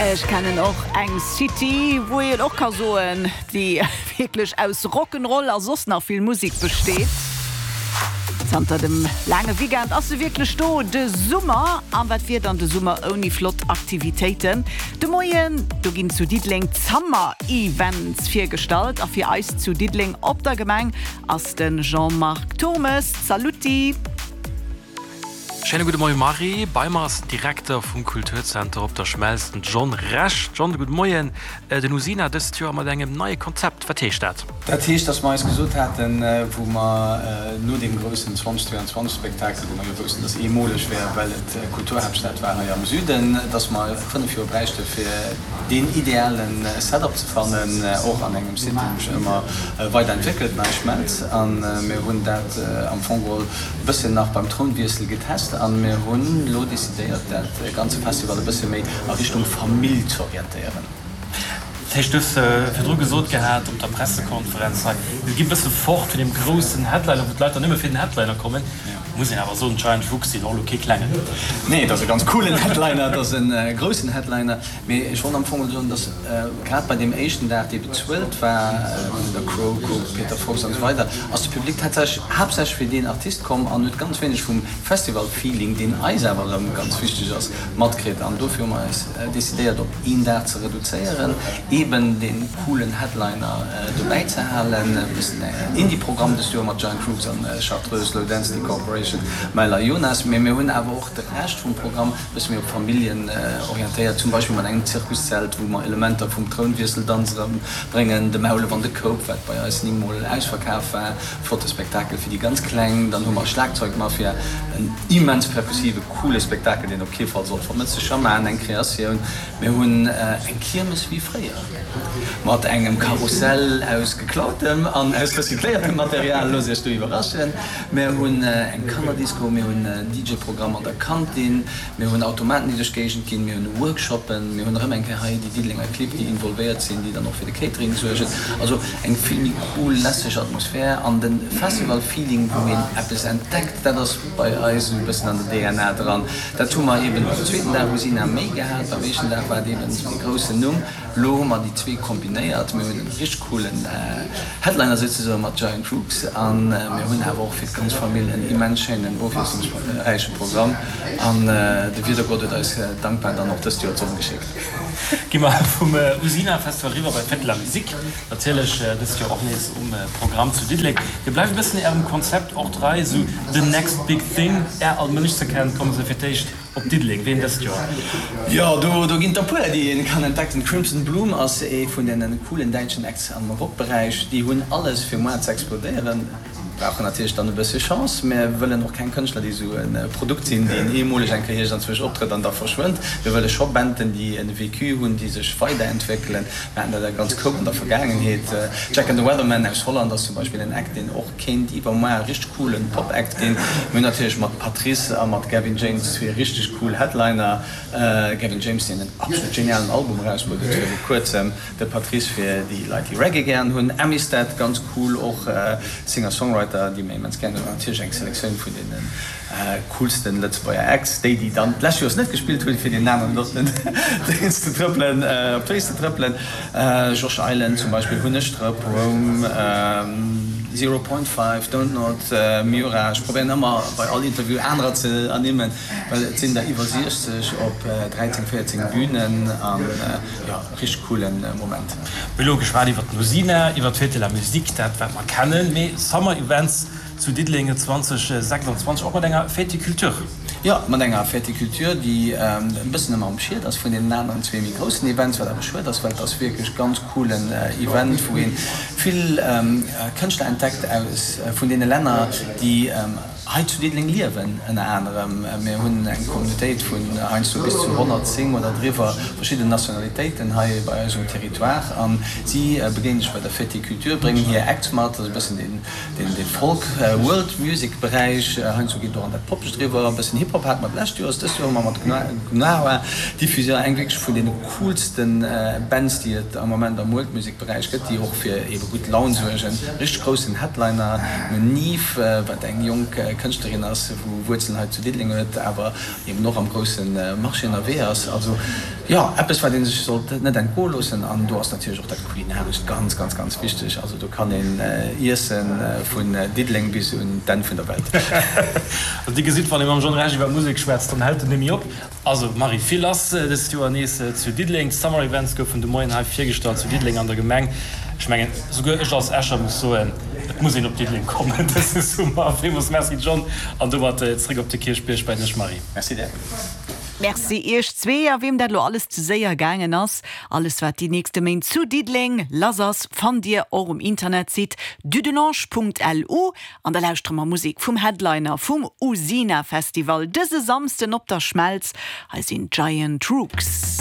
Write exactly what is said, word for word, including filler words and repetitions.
Ech kennen och eng City, wou een och ka soen, déi wierklech aus Rock'n'Roll a soss nach vill Musek besteet. Zanter dem laange Weekend ass se wierklech do, de Summer. An wat wier dann de Summer ouni flott Aktivitéiten? De Moien, do ginn zu Diddeleng d'Summer Events virgestallt a fir eis zu Diddeleng op der Gemeng ass de Jean-Marc Turmes. Saluti! Schéine gudde Moie Marie, bei mer ass den Direkter vum Kulturzenter Op der Schmelz, den John Rech. John, gudde Moien. Den Usina dëst Joer mat engem neie Konzept, wat heescht dat? Dat heescht, dass mer eis gesot haten, wou mer no deem groussen zwanzeg dräianzwanzeg Spektakel, wou mer jo woussten, dass eemoleg wär, well et Kulturhaaptstad war hei am Süden, dass mer fënnef Joer bräichte fir deen ideale Setup ze fannen, och an engem Site, dee sech ëmmer weiderentwéckelt, Nei Schmelz. A mir hunn dat am Fong geholl e bësschen nach beim Trounwiessel getest a mir hunn elo decidéiert, dat ganze Festival e bësse méi a Richtung Famill z'orientéieren. Dat heescht, du hues virdru gesot gehat op der Pressekonferenz hei, mir gi bësse fort vun deem groussen Headliner, wou d'Leit dann nëmme fir den Headliner kommen. Muss een awer soen, d'Giant Rooks sinn och elo kee klengen. Nee, et ass e ganz coolen Headliner, et ass e groussen Headliner. Mee ech wollt am Fong soen, dass grad bei deem éischten Dag, dee bezuelt war, vun der Crow, Coop, Peter Fox an esou weider, ass de Public tatsächlech haaptsächlech fir deen Artist komm an huet ganz wéineg vum Festival-Feeling, deen eis awer erëm ganz wichteg ass, matkritt. An dofir hu mer eis decidéiert, op een Dag ze reduzéieren, eben dee coolen Headliner dobäi ze halen, e bëssen en Indie-Programm dëst Joer mat Giant Rooks an Chartreuse, Low Density Corporation, Myla Jonas. Mee mir hunn awer och de Rescht vum Programm e bësse méi op Familljen orientéiert, zum Beispill mat engem Zirkuszelt, wou mer Elementer vum Trounwiesseldanz erëmbréngen, de Maulef an de Koup, wat bei eis ni mol ausverkaf war, flotte Spektakel fir déi ganz Kleng. Dann hu mer Schlagzeugmafia, en immens perkussive, coole Spektakel, deen op kee Fall sollt vermëssen, Schaman, eng Kreatioun. Mir hunn eng Kiermes wéi fréier, mat engem Karussell aus geklautem an aus recycléiertem Material, loosst Iech do iwwerraschen. Mir hunn eng Kannerdisco, mir hunn en D J Programm an der Kantin, mir hunn Automaten, déi duerch d'Géigend ginn, mir hunn Workshoppen, mir hunn erëm eng Kéier hei déi Diddelenger Clibb, déi involvéiert sinn, déi dann och fir de Catering suergen. Also eng vill méi cool, lässeg Atmosphär an de Festival-Feeling, wou een eppes entdeckt, dat ass bei eis esou e bëssen an der D N A dran. Dat hu mer eben um zweeten Dag Usina méi gehat, beim éischten Dag war et eben esou dee groussen Numm. Elo hu mer déi zwee kombinéiert. Mir hunn e richteg coolen Headliner souzesoen mat Giant Rooks a mir hunn awer och fir d'ganz Famill en immens schéinen, ofwiesslungsräiche Programm. An de Wiedergott huet eis dankbar dann och dëst Joer d'Sonn geschéckt. Gi mer vum Usina Festival eriwwer bei d'Fête de la Musique. Natierlech dëst Joer och nees um Programm zu Diddeleng. Dir bleift e bëssen Ärem Konzept och trei, esou the next big thing. Är all Mënsch ze kennen, komme se fir d'éischt op Diddeleng. Ween dëst Joer? Jo, do ginn et der puer, déi een kann entdecken. Crimson Bloom ass ee vun deene coolen däitschen Acts am Rockberäich. Déi hunn alles fir muar ze explodéieren. Brauchen natierlech dann e bëssche Chance. Mir wëllen och keng Kënschtler, déi esou e Produkt sinn, deen eemoleg eng Kéier iergendzwousch optrëtt an da verschwënnt. Mir wëlle scho Banden, déi e Vécu hunn, déi sech weiderentwéckelen. Mir haten dat a ganz Koup an der Vergaangenheet. Jack and the Weatherman aus Holland ass zum Beispill en Act, deen och kéint iwwermuar e richteg coolen Pop-Act ginn. Mir hunn natierlech mat Patrice a mat Gavin James zwee richteg cool Headliner. Gavin James, deen en absolut genialen Album erausbruet huet viru kuerzem. De Patrice fir déi Leit, déi Reggae gären hunn. Amistad, ganz cool och, Singer-Songwriter, déi mir immens gären hunn. An natierlech eng Selektioun vun deene coolsten Lëtzebuerger Acts, déi, déi dann d'lescht Joers net gespillt hunn, fir deenen aneren och net d'Féiss ze trëppelen, op d'Féiss ze trëppelen. Josh Island zum Beispill hunn ech drop, Rome, Zero Point Five, Don't Nod, Miura. Ech probéieren ëmmer bei all Interview anerer ze ernimmen, well et sinn der iwwer siechzeg op dräizéng, véierzéng Bünen an jo. Richteg coolen Moment. Mir elo geschwat iwwer d'Musina, iwwer d'Fête de la Musique, dat wat mer kennen, mee Summer Events zu Diddeleng zwanzeg sechsanzwanzeg och mat enger Fête de Culture. Jo, mat enger Fête de Culture, déi e bëssen ëmmer am Schied ass vun deenen aneren zwee méi groussen Events, wat awer schued ass, well et ass wierklech ganz coolen Event, wou ee vill Kënschtler entdeckt aus vun deene Länner, déi hei zu Diddeleng liewen ënner anerem. Mir hunn eng Communautéit vun heiansdo bis zu honnertzéng oder driwwer verschidden Nationalitéiten hei bei eis um Territoire a si begéine sech bei der Fête des Cultures, bréngen hir Acts mat. Dat ass e bëssen deen dee Folk World Music Beräich. Heiansdo geet et och an dat Poppegt eriwwer. E bëssen Hip Hop hate mer d'lescht Joers. Dëst Joer hu mer mat Gnawa Diffusion eng wierklech vun deene coolste Bands déi et am Moment am World Music Beräich gëtt, déi och fir ebe gutt Laun suergen. Richteg groussen Headliner, Neve, wat eng jonk Kënschtlerin ass, wou Wuerzelen hei zu Diddeleng huet, awer eben och am grousse Marché ënnerwee ass. Also jo, eppes wat ee sech sollt net entgoe loossen. An do ass natierlech och dat Kulinarescht ganz, ganz, ganz wichteg. Also do kann een iessen vun Diddeleng bis un d'Enn vun der Welt. Also Dir gesitt, wann ee mam John Rech iwwer Musek schwätzt, dann hält en net méi op. Also Marie, vill lass dëst Joer nees zu Diddeleng. D'Summer Events goufen de Moien hei virgestallt zu Diddeleng an der Gemeng. Ech mengen, souguer ech als Escher muss soen, et muss een op Diddeleng kommen dëse Summer. Villmools Merci John, an domat zréck op de Kierchbierg bei dech Marie. Merci dir. Merci iech zwee. A weem dat elo alles ze séier gaangen ass, alles wat déi nächste Méint zu Diddeleng lass ass, fannt dir och um Internetsite dudelange.lu. An da lauschtere mer Musek vum Headliner vum Usina Festival dëse Samsden op der Schmelz. Hei sinn d'Giant Rooks.